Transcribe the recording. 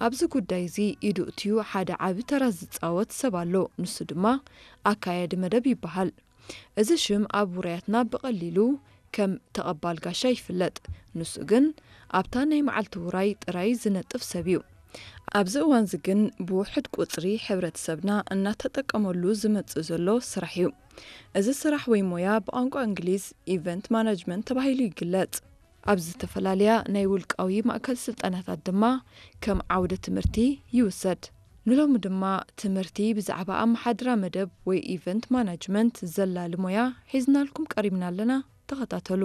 ኣብዚ ጉዳይ እዚ ኢዱ እትዩ ሓደ ዓቢ ተራ ዝጻወት ሰብ ኣሎ። ንሱ ድማ ኣካያዲ መደብ ይበሃል። እዚ ሽም ኣብ ውራያትና ብቐሊሉ ከም ተቐባል ጋሻ ይፍለጥ። ንሱ ግን ኣብታ ናይ መዓልቲ ውራይ ጥራይ ዝነጥፍ ሰብ እዩ። ኣብዚ እዋንዚ ግን ብውሑድ ቁጽሪ ሕብረተሰብና እናተጠቀመሉ ዝመጽእ ዘሎ ስራሕ እዩ። እዚ ስራሕ ወይ ሞያ ብቋንቋ እንግሊዝ ኢቨንት ማናጅመንት ተባሂሉ ይግለጽ። ኣብ ዝተፈላለያ ናይ ውልቃዊ ማእከል ስልጠናታት ድማ ከም ዓውደ ትምህርቲ ይውሰድ። ንሎሚ ድማ ትምህርቲ ብዛዕባ ኣመሓድራ መደብ ወይ ኢቨንት ማናጅመንት ዘላሊ ሞያ ሒዝናልኩም ቀሪብና ኣለና። ተኸታተሉ።